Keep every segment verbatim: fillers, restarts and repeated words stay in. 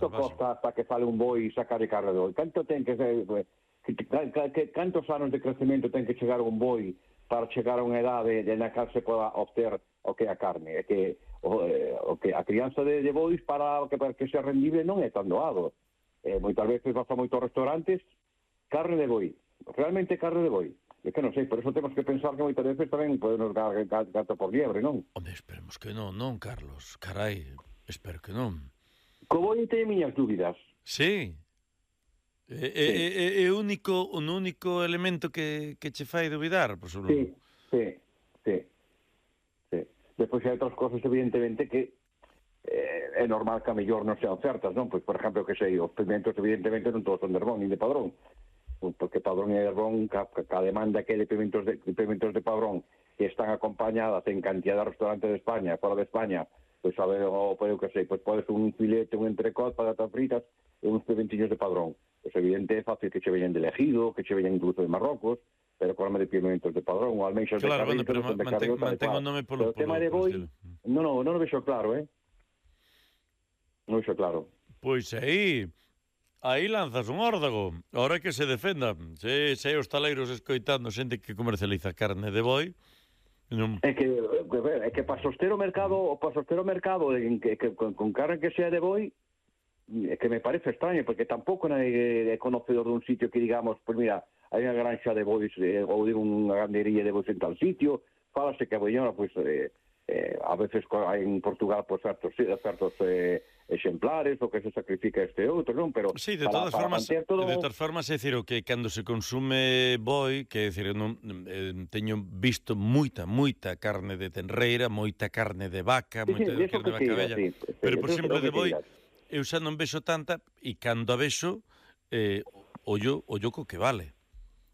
Canto costa hasta que sale un boi e saca de carne de boi? Canto ten que ser... Que, que, que, cantos anos de crecemento ten que chegar un boi para chegar a unha edade de na cal se poda obter o que é a carne? É que o, eh, o que a crianza de, de bois para que, para que sea rendible non é tan doado. Eh, moitas veces vas a moitos restaurantes, carne de boi, realmente carne de boi. É que non sei, por eso temos que pensar que moitas veces tamén podemos dar gato por liebre, non? Home, esperemos que non, non, Carlos? Carai, espero que non. Co boi teño miñas dúbidas. Sí. É, é, é, é o único, o único elemento que, que che fai dubidar, por suposto. Sí, sí, sí, sí. Despois hai outras cosas, evidentemente, que eh, é normal que a mellor non sean certas, non? Pois, por exemplo, que sei, os pimentos, evidentemente, non todos son de Herbón, nin de Padrón. Porque Padrón e Herbón, ca, ca demanda que de pimentos de, pimentos de Padrón que están acompañadas en cantidad de restaurantes de España, fora de España, pois, a ver, o, pois, que sei, pois podes un filete, un entrecot, patatas fritas e uns pimentillos de Padrón. Pois evidente é fácil que che veñan de Ejido, que che veñan incluso de Marrocos, pero colame de pimentos de Padrón, ou almeixas claro, de Carrizo, bueno, pero de mantén, Carriota, mantén o nome polo, pero o tema polo, de boi, non, non, non o vexo claro, eh? Non o vexo claro. Pois aí, aí lanzas un órdago, ahora que se defenda, se, se hai os taleiros escoitando xente que comercializa carne de boi, non... É que, é que para soster o mercado, para soster o mercado en que, que, con, con carne que sea de boi, é que me parece extraño, porque tampouco é conocedor dun sitio que digamos, pois pues mira, hai unha granxa de bois, eh, ou digo unha gandería de bois en tal sitio, fálase que a boiñora, pois, pues, eh, eh, a veces hai en Portugal, pois, pues, certos, certos eh, exemplares, o que se sacrifica este outro, non? Pero sí, de para, todas para formas, todo... de todas formas, é dicir, o que cando se consume boi, que é dicir, non, eh, teño visto moita, moita carne de tenreira, moita carne de vaca, sí, moita sí, carne de vaca bella, sí, sí, pero, por exemplo, de boi, eu xa non vexo tanta, e cando a vexo, eh, ollo, ollo co que vale.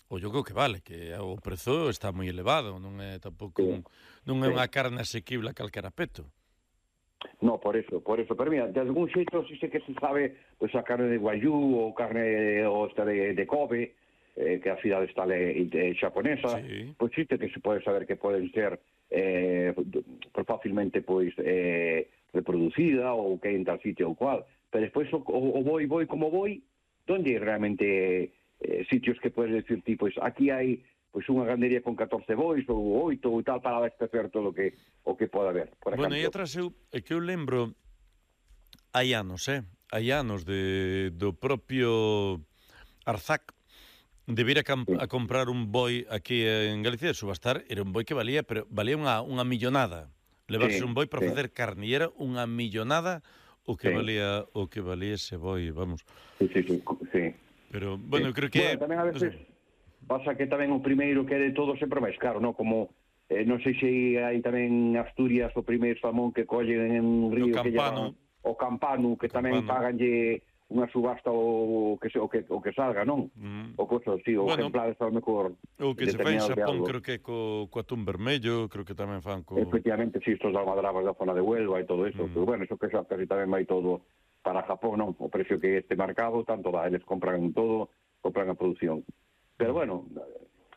Ollo co que vale, que o prezo está moi elevado, non é tampouco sí, un, non é sí. unha carne asequible a calquera peto. No, por eso, por eso, pero mira, de algún xeito si sé que se sabe, pois pues, a carne de Guayú ou carne ou esta de, de Kobe, eh, que a cidade está le, de, xaponesa, sí. pois pues, xiste que se pode saber que poden ser eh, fácilmente pois eh, reproducida ou que hai en tal sitio ou cual, pero despois o, o, o boi, boi como boi, onde hai realmente eh, sitios que podes decir, ti, pois aquí hai pois unha gandería con catorce bois ou oito ou tal para abastecer todo o que o que pode haber. Por bueno, ejemplo. e atrás eu, é que eu lembro hai anos, eh? Hai anos de, do propio Arzac de vir a, camp, a comprar un boi aquí en Galicia de subastar, era un boi que valía, pero valía unha, unha millonada. Levarse sí, un boi para sí. facer carne, e era unha millonada o que sí. valía o que valía ese boi, vamos. Sí, sí, sí. sí. Pero, bueno, sí. eu creo que... Bueno, tamén a veces no sé. Pasa que tamén o primeiro que é de todo sempre máis caro, non? Como, eh, non sei se hai tamén Asturias o primeiro salmón que collen en un río que lleva o Campano, que o tamén paganlle unha subasta o que se, o que o que salga, non? Mm. O coso, sí, o bueno, exemplares ao mellor. O que se fai en Xapón, creo que co, co atún vermello, creo que tamén fan co... Efectivamente, sí, estos almadrabas da zona de Huelva e todo eso, mm. pero bueno, eso que xa casi tamén vai todo para Japón, non? O precio que este mercado, tanto dá, eles compran todo, compran a produción. Pero bueno,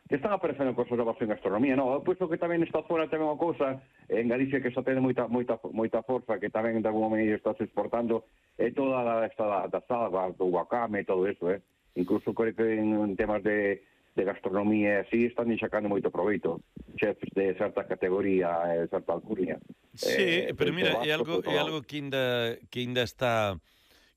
están aparecendo cosas novas en gastronomía, non? Eu penso que tamén esta zona tamén unha cousa, en Galicia que xa ten moita moita moita forza, que tamén de alguma maneira está se exportando, é toda a esta da, da salva, do wakame, todo eso, eh? Incluso creo que en, en temas de, de gastronomía así están sacando moito proveito, chefs de certa categoría, de certa alcurnia. Sí, eh, pero mira, é algo, é algo que ainda, que ainda está...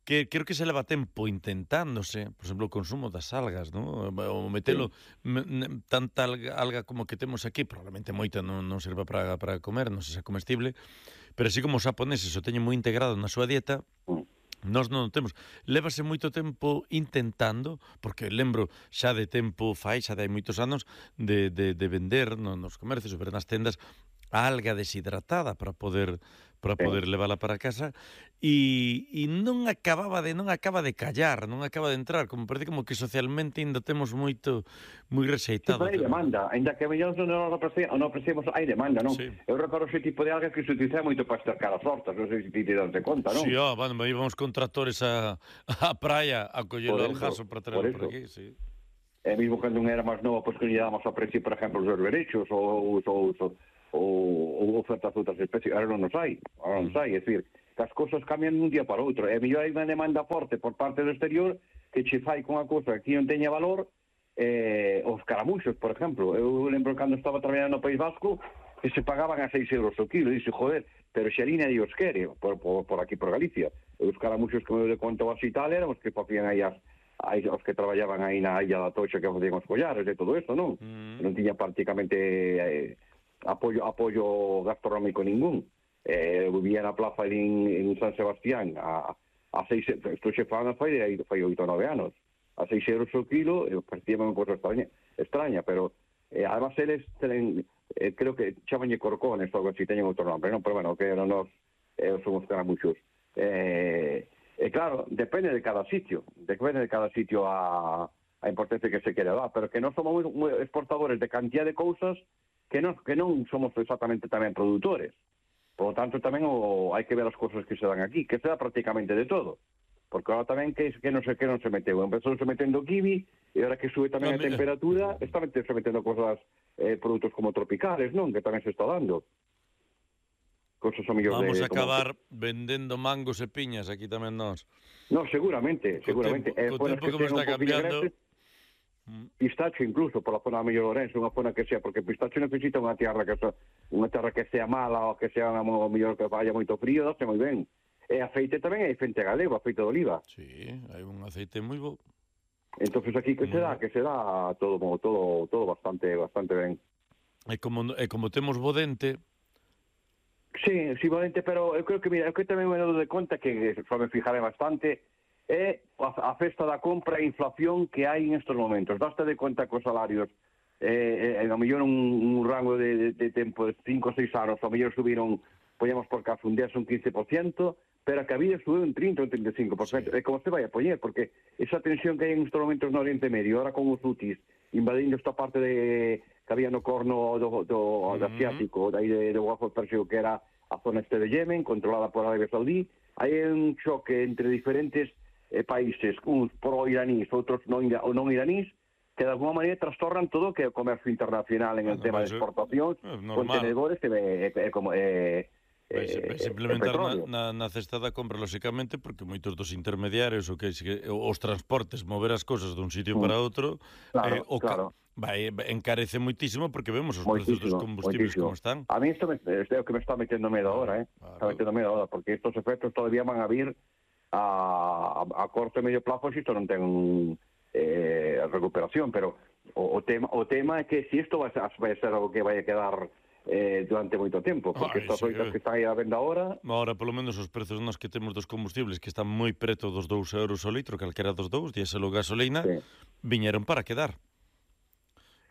que creo que se leva tempo intentándose, por exemplo, o consumo das algas, ¿no? O metelo sí. m, tanta alga, alga como que temos aquí, probablemente moita non, non serva para, para comer, non se xa comestible, pero así como os japoneses o teñen moi integrado na súa dieta, nós non o temos. Lévase moito tempo intentando, porque lembro xa de tempo fai, xa de hai moitos anos, de, de, de vender no, nos comercios, ver nas tendas, a alga deshidratada para poder para poder levala para casa e, e non acababa de non acaba de callar, non acaba de entrar, como parece como que socialmente ainda temos moito moi rexeitado. Sí, hai demanda, ainda que mellor non o apreciamos, hai demanda, non? Sí. Eu recordo ese tipo de algas que se utiliza moito para estercar as hortas, non sei se ti te das de conta, non? Sí, oh, bueno, me íbamos con tractores a, a praia a coller o aljazo para traerlo por, por aquí, sí. E mesmo cando non era máis novo, pois que lle damos a precio, por exemplo, os berberechos ou os ou, ou, ou ofertas outras especies, ahora non nos hai, ahora non nos hai, é dicir, que as cousas cambian dun día para outro. E mellor hai unha demanda forte por parte do exterior que che fai con a cousa que aquí non teña valor. Eh, os caramuxos, por exemplo, eu lembro cando estaba traballando no País Vasco que se pagaban a seis euros o kilo, e dixe, joder, pero xe ali nadie os quere por, por, por aquí, por Galicia. E os caramuxos que eu le conto así tal eran os que facían aí as, aí, os que traballaban aí na Illa da Toxa, que facían os collares e todo eso, non? Mm. Non tiña prácticamente eh, apoio, apoio gastronómico ningún. Eh, vivía na plaza en, en San Sebastián a, a seis, isto xe fan fai, fai oito ou nove anos, a seis euros o kilo, e parecía unha cosa extraña, extraña, pero eh, además eles tenen, eh, creo que chamañe corcones, algo así, teñen outro nombre, non? Pero bueno, que eran nos, eh, somos caramuxos. Eh, e claro, depende de cada sitio, depende de cada sitio a, a importancia que se quere dar, pero que non somos moi, moi exportadores de cantidad de cousas que non, que non somos exactamente tamén produtores. Por lo tanto, tamén o, hai que ver as cousas que se dan aquí, que se da prácticamente de todo. Porque ahora tamén que, que non sei que non se meteu. Empezou se metendo kiwi, e ahora que sube tamén a temperatura, está se metendo cosas, eh, produtos como tropicales, non? Que tamén se está dando. Cosas a mellor Vamos de... a acabar que... vendendo mangos e piñas aquí tamén nós. No, seguramente, co seguramente. Tempo, eh, co tempo que, que está cambiando... Pistacho incluso, por la zona de Mellor Lorenzo, unha zona que sea, porque pistacho necesita unha terra que sea, unha terra que sea mala ou que sea o mellor que vaya moito frío, dáse moi ben. E aceite tamén hai aceite galego, aceite de oliva. Sí, hai un aceite moi bo. Entonces aquí que se dá, que se dá todo todo todo bastante bastante ben. E como e como temos bo dente. Sí, sí, bo dente, pero eu creo que mira, eu que tamén me dou de conta que só me fijaré bastante é a, a festa da compra e inflación que hai en estos momentos. Daste de conta que os salarios eh, eh, a mellor un, un rango de, de, de tempo de cinco ou seis anos, a mellor subiron, poñamos por caso, un día un quince por ciento, pero que a vida subiu un trinta ou un trinta e cinco por ciento. Sí. E como se vai a poñer, porque esa tensión que hai en estos momentos no Oriente Medio, ahora con os hutis, invadindo esta parte de que había no corno do, do, do asiático, aí de, do Golfo Pérseo, que era a zona este de Yemen, controlada por Arabia Saudí, hai un choque entre diferentes eh, países, uns pro-iranís, outros non, ou non iranís, que de alguma maneira trastornan todo que é o comercio internacional en bueno, el tema de exportacións, contenedores e, e, e, como... E, Vai implementar na, na, na cesta da compra, lóxicamente, porque moitos dos intermediarios o que, que os transportes, mover as cosas dun sitio mm. para outro, claro, eh, o claro. vai encarece moitísimo porque vemos os moitísimo, precios dos combustibles moitísimo. como están. A mí isto me, é o que me está metendo medo agora, eh? Claro. Está metendo medo agora, porque estos efectos todavía van a vir a, a, a corto e medio plazo se isto non ten eh, recuperación, pero o, o, tema, o tema é que se isto vai, vai ser algo que vai a quedar eh, durante moito tempo, porque Ay, estas oitas sí, que están aí a venda agora... Agora, polo menos, os prezos nos que temos dos combustibles, que están moi preto dos dous euros o litro, calquera dos dous, diésel ou gasolina, sí. viñeron para quedar.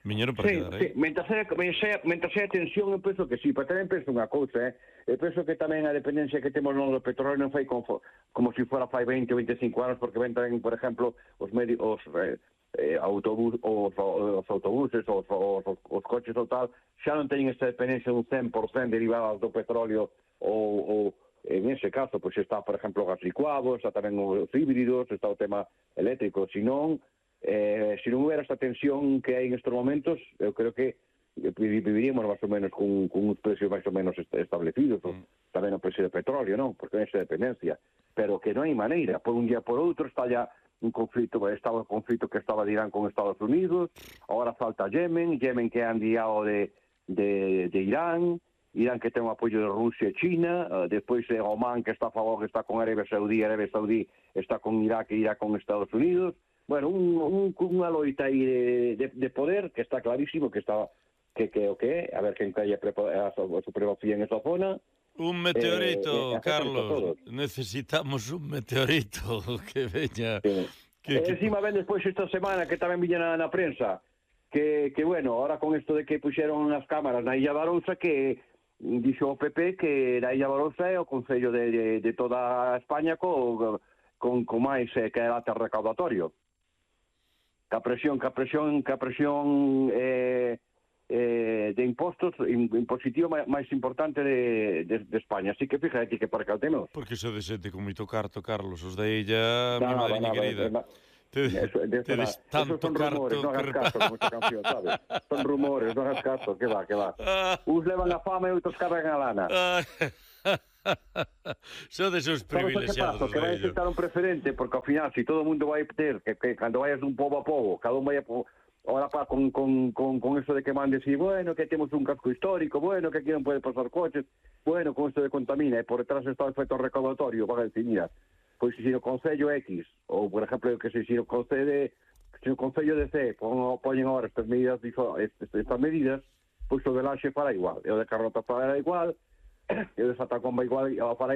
Viñeron para sí, quedar, sí. eh? Mentre hai tensión, eu penso que sí, pero tamén penso unha cousa, eh? Eu penso que tamén a dependencia que temos no do petróleo non fai como, como se si fora fai veinte ou veinticinco anos, porque ven tamén, por exemplo, os medios... Os, eh, Eh, autobús, os, os autobuses, os, os, os coches ou tal, xa non teñen esta dependencia dun cen por ciento derivada do petróleo ou, ou en ese caso, pois está, por exemplo, o gas licuado, está tamén os híbridos, está o tema eléctrico, se non, eh, se non houbera esta tensión que hai en estes momentos, eu creo que viviríamos máis ou menos con, con uns precios máis ou menos establecidos, mm. tamén o precio de petróleo, non? Porque non hai esa dependencia, pero que non hai maneira, por un día por outro está ya un conflito, estaba un conflito que estaba de Irán con Estados Unidos, ahora falta Yemen, Yemen que é aliado de, de, de Irán, Irán que ten un apoio de Rusia e China, uh, despois é Oman que está a favor, que está con Arabia Saudí, Arabia Saudí está con Irak e Irak con Estados Unidos, bueno, un, un, unha loita aí de, de, de poder que está clarísimo que está que que o que a ver quen cae a, a, a supremacía en esa zona. Un meteorito, eh, eh, Carlos. Necesitamos un meteorito que veña. Sí. Que, e que... encima ven despois esta semana que tamén viña na, na prensa que, que, bueno, ahora con isto de que puxeron as cámaras na Illa Barousa, que dixo o P P que na Illa Barousa é o concello de, de, de toda España co, con, con máis eh, que era recaudatorio. Que a presión, que a presión, que a presión eh, Eh, de impostos impositivo máis importante de, de, de España, así que fíjate que para caltemos. Porque iso de xente con moito carto, Carlos, os de ella, no, mi madriña no, querida. No, no. Tedes tanto son carto rumores, non hagas caso como esta canción, sabes? Son rumores, non hagas caso, que va, que va. Uns levan a fama e outros cargan a lana. Son desos privilexiados. Sabes o que pasa? Que vai aceptar un preferente, porque ao final, se si todo o mundo vai ter, que, que cando vayas dun pobo a pobo, cada un vai a pobo, ahora pa, con, con, con, con eso de que mandes y bueno, que temos un casco histórico, bueno, que aquí non pode pasar coches, bueno, con eso de contamina, e por detrás está o efecto recaudatorio, van a decir, mira, pois se si no Concello X, ou por exemplo, que se si no Concello de, se no Concello de C, poñen agora estas medidas, estas medidas, pois o de Laxe fará igual, e o de Carnota fará igual, e o de Santa Comba igual, e o fará